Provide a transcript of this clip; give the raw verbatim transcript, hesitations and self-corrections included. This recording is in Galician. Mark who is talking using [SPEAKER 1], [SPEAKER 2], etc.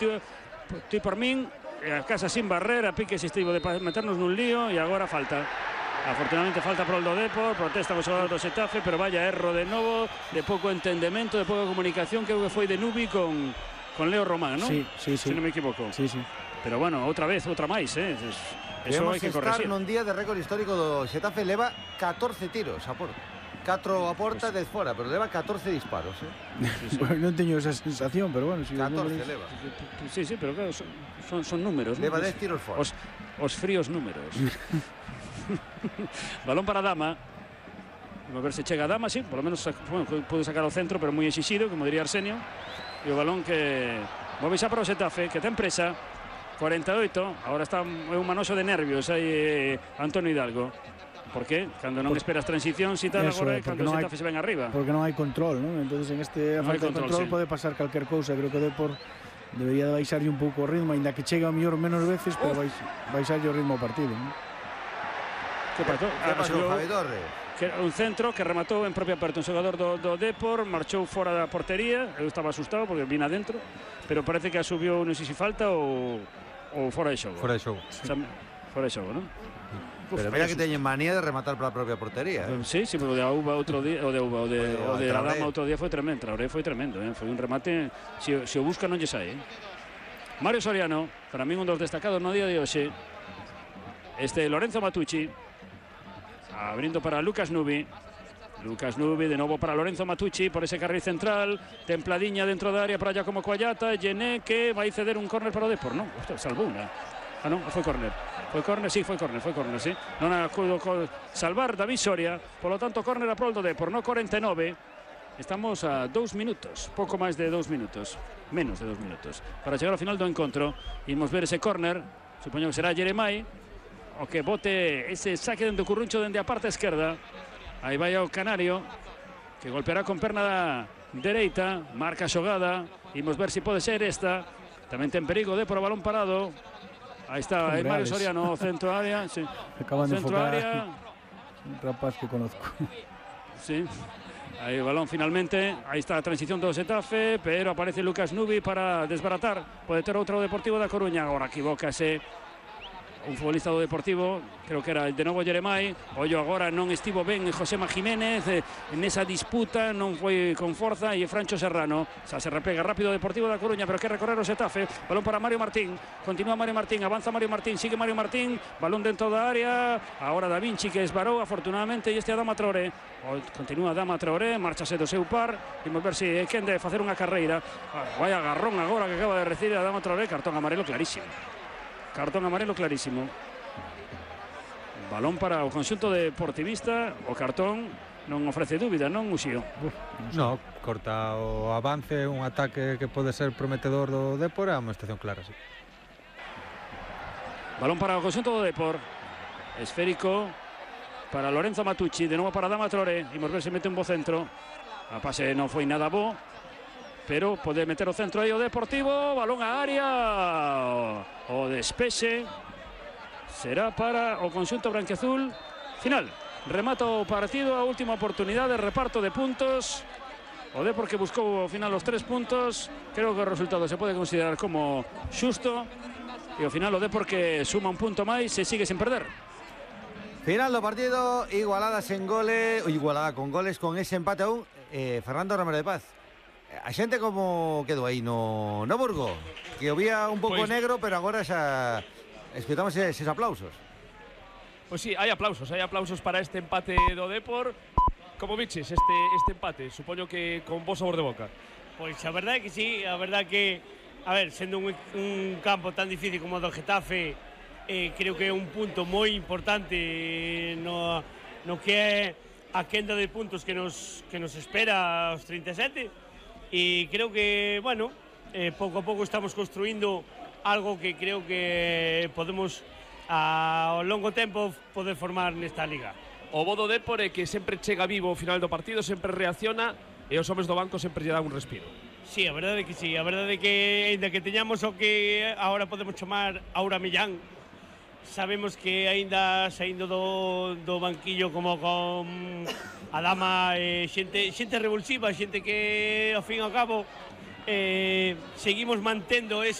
[SPEAKER 1] ti, ti por min, a casa sin barrera, Pique se estivo de meternos nun lío e agora falta. Afortunadamente falta para o do Depor, protesta o xogador do Xetafe, pero vaya erro de novo, de pouco entendemento, de pouca comunicación, que foi de Nubi con, con Leo Román, non?
[SPEAKER 2] Sí, sí, sí.
[SPEAKER 1] Se non me equivoco.
[SPEAKER 2] Sí, sí.
[SPEAKER 1] Pero bueno, outra vez, outra máis, eh? Eso hai que corregir.
[SPEAKER 3] Estar nun día de récord histórico do Xetafe, leva catorce tiros a porta. catro a porta, dez fora, pero leva catorce disparos, eh?
[SPEAKER 1] Sí, sí.
[SPEAKER 2] Bueno, non teño esa sensación, pero bueno, si
[SPEAKER 3] catorce leva.
[SPEAKER 1] Sí, sí, pero claro, son, son, son números,
[SPEAKER 3] leva
[SPEAKER 1] ¿no?
[SPEAKER 3] dez tiros fora.
[SPEAKER 1] Os, os fríos números. Balón para Dama. Vamos a ver se chega a Dama, sí, por lo menos bueno, puede sacar ao centro, pero moi exixido, como diría Arsenio. E o balón que move xa para o Xetafe, que ten presa. cuarenta e oito, agora está un manoxo de nervios aí eh, Antonio Hidalgo. Por qué? Cando non esperas transición, si tal agora é cando o Xetafe se ven arriba.
[SPEAKER 2] Porque non hai control, ¿no? Entonces en este
[SPEAKER 1] no
[SPEAKER 2] falta de
[SPEAKER 1] control,
[SPEAKER 2] control
[SPEAKER 1] sí.
[SPEAKER 2] pode pasar calquer cousa. Creo que o Depor debería de baixarlle un pouco o ritmo, ainda que chega a mellor menos veces, pero baix, baixarlle o ritmo ao partido, ¿no?
[SPEAKER 1] Que pasou?
[SPEAKER 3] Que pasou, Javi Torres?
[SPEAKER 1] Que un centro que rematou en propia parte un xogador do, do Depor, marchou fora da portería. Eu estaba asustado porque vine adentro, pero parece que asubiu, non sei se falta ou, ou fora de xogo.
[SPEAKER 4] Fora de xogo.
[SPEAKER 1] Sí. O sea, fora de xogo, non?
[SPEAKER 3] Pero mira que teñen manía de rematar para a propia portería, eh?
[SPEAKER 1] Sí, sí, pero o de Auba outro día, o de Auba, o de, o de la Dama outro día foi tremendo. Traoré foi tremendo, eh? Foi un remate, se, se o busca non lle sai, eh? Mario Soriano, para min un dos destacados no día de hoxe. Este Lorenzo Matucci, abrindo para Lucas Nubi. Lucas Nubi, de novo para Lorenzo Matucci, por ese carril central, templadiña dentro da área para Giacomo Coagliata, Gené que vai ceder un córner para o Depor, non? Ostras, salvou unha. Ah, non, foi córner. Foi córner, sí, foi córner, foi córner, sí. Non acudo con salvar David Soria, polo tanto, córner a prol do Depor, no cuarenta e nove. Estamos a dous minutos, pouco máis de dous minutos, menos de dous minutos, para chegar ao final do encontro. Imos ver ese córner, supoño que será Jeremai, o que bote ese saque dentro do Curruncho dende a parte esquerda. Aí vai o Canario, que golpeará con perna dereita, marca a xogada. Imos ver se pode ser esta. Tamén ten perigo de por o balón parado. Aí está, aí Mario Soriano, centro área, sí.
[SPEAKER 2] Acaban de
[SPEAKER 1] centro
[SPEAKER 2] enfocar
[SPEAKER 1] área.
[SPEAKER 2] Un rapaz que conozco.
[SPEAKER 1] Sí. Aí o balón finalmente, aí está a transición do Xetafe, pero aparece Lucas Nubi para desbaratar. Pode ter outro Deportivo da Coruña, agora equivócase un futbolista do Deportivo, creo que era de novo Jeremai. Ollo agora non estivo ben Josema Jiménez eh, nesa disputa, non foi con forza, e Francho Serrano xa se replega rápido o Deportivo da Coruña, pero que recorrer o Xetafe. Balón para Mario Martín, continúa Mario Martín, avanza Mario Martín, sigue Mario Martín, balón dentro da área, agora Da Vinci que esbarou afortunadamente, e este Adama Traoré, continúa Adama Traoré, marchase do seu par. Vamos ver se é quen de facer unha carreira. Ah, vai agarrón agora que acaba de recibir Adama Traoré, cartón amarelo clarísimo. Cartón amarelo clarísimo. Balón para o conxunto deportivista. O cartón non ofrece dúbida, non, Uxío?
[SPEAKER 4] No, corta o avance, un ataque que pode ser prometedor do Depor, é unha estación clara, sí.
[SPEAKER 1] Balón para o conxunto do Depor. Esférico para Lorenzo Matucci, de novo para Adama Traoré. Imos ver se mete un bo centro. A pase non foi nada bo, pero pode meter o centro aí o Deportivo. Balón a área, o despexe será para o conxunto branquiazul. Final, remata o partido, a última oportunidade, reparto de puntos. O Depor que buscou ao final os tres puntos. Creo que o resultado se pode considerar como xusto, e ao final o Depor que suma un punto máis e sigue sin perder.
[SPEAKER 3] Final do partido, igualada sen goles, igualada con goles, con ese empate aún. eh, Fernando Ramírez de Paz, a xente como quedou aí no, no Burgo, que o vía un pouco pues, negro, pero agora xa escutamos eses aplausos.
[SPEAKER 5] Pois pues sí, hai aplausos, hai aplausos para este empate do Depor. Como viches este, este empate? Supoño que con bo sabor de boca.
[SPEAKER 6] Pois a verdade é que sí, a verdade que, a ver, sendo un, un campo tan difícil como o do Getafe, eh, creo que é un punto moi importante no, no que é a quenda de puntos que nos, que nos espera aos trinta e sete. E creo que, bueno, eh, pouco a pouco estamos construindo algo que creo que podemos ao longo tempo poder formar nesta liga.
[SPEAKER 5] O bo do Depor é que sempre chega vivo ao final do partido, sempre reacciona, e os homes do banco sempre lle dan un respiro.
[SPEAKER 6] Sí, a verdade é que sí, a verdade é que ainda que teñamos o que agora podemos chamar Aura Millán, sabemos que aínda saindo do, do banquillo como con Adama, eh, xente, xente revulsiva, xente que ao fin e ao cabo eh, seguimos mantendo esa